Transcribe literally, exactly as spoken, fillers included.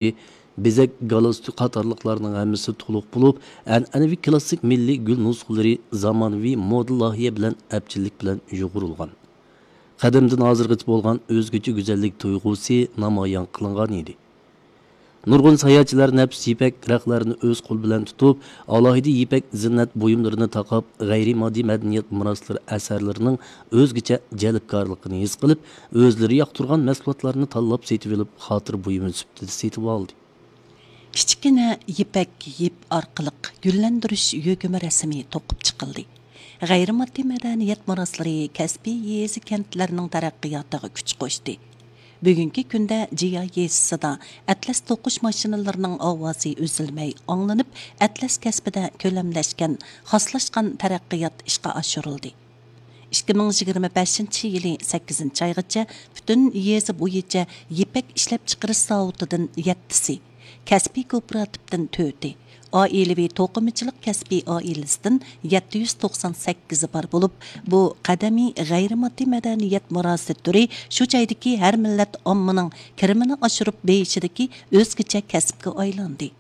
بېزەك، گالستۇك قاتارلىقلارنىڭ ھەممىسى تولۇق بولۇپ، ئەنئەنىۋى كىلاسسىك مىللىي گۈل نۇسخىلىرى زامانىۋى مودا لايىھە بىلەن ئەپچىللىك بىلەن يۇغۇرۇلغان. قەدىمدىن ھازىرغىچە بولغان ئۆزگىچە گۈزەللىك تۇيغۇسى نامايان قىلىنغان ئىدى. نۇرغۇن ساياھەتچىلەر نەپىس يىپەك رەختلەرنى ئۆز قولى بىلەن تۇتۇپ، ئالاھىدە يىپەك زىننەت بۇيۇملىرىنى تاقاپ، غەيرىي ماددىي مەدەنىيەت مىراسلىرى ئەسەرلىرىنىڭ ئۆزگىچە جەلپكارلىقىنى ھېس قىلىپ، ئۆزلىرى ياقتۇرغان مەھسۇلاتلارنى تاللاپ سېتىۋېلىپ، خاتىرە بۇيۇمى سۈپىتىدە سېتىۋالدى. كىچىككىنە يىپەك يىپ ئارقىلىق گۈللەندۈرۈش يۆگىمە رەسىمى توقۇپ چىقىلدى. غەيرىي ماددىي مەدەنىيەت مىراسلىرى كەسپىي يېزا كەنتلەرنىڭ تەرەققىياتىغا كۈچ قوشتى. بۈگۈنكى كۈندە جىيا يېزىسىدا ئەتلەس توقۇش ماشىنىلىرىنىڭ ئاۋازى ئۈزۈلمەي ئاڭلىنىپ، ئەتلەس كەسپىدە كۆلەملەشكەن، خاسلاشقان تەرەققىيات ئىشقا ئاشۇرۇلدى. ئىككى مىڭ يىگىرمە بەشىنچى يىلى سەككىزىنچى ئايغىچە پۈتۈن يېزا بويىچە يىپەك ئىشلەپچىقىرىش زاۋۇتىدىن يەتتىسى، كەسپىي كوپىراتىپتىن تۆتى، ئائىلىۋى توقۇمىچىلىق كەسپىي ئائىلىسىدىن يەتتە يۈز توقسان سەككىزى بار بولۇپ، بۇ قەدىمىي غەيرىي ماددىي مەدەنىيەت مىراسى تۈرى شۇ جايدىكى ھەر مىللەت ئاممىنىڭ كىرىمىنى ئاشۇرۇپ بېيىشىدىكى ئۆزگىچە كەسىپكە ئايلاندى.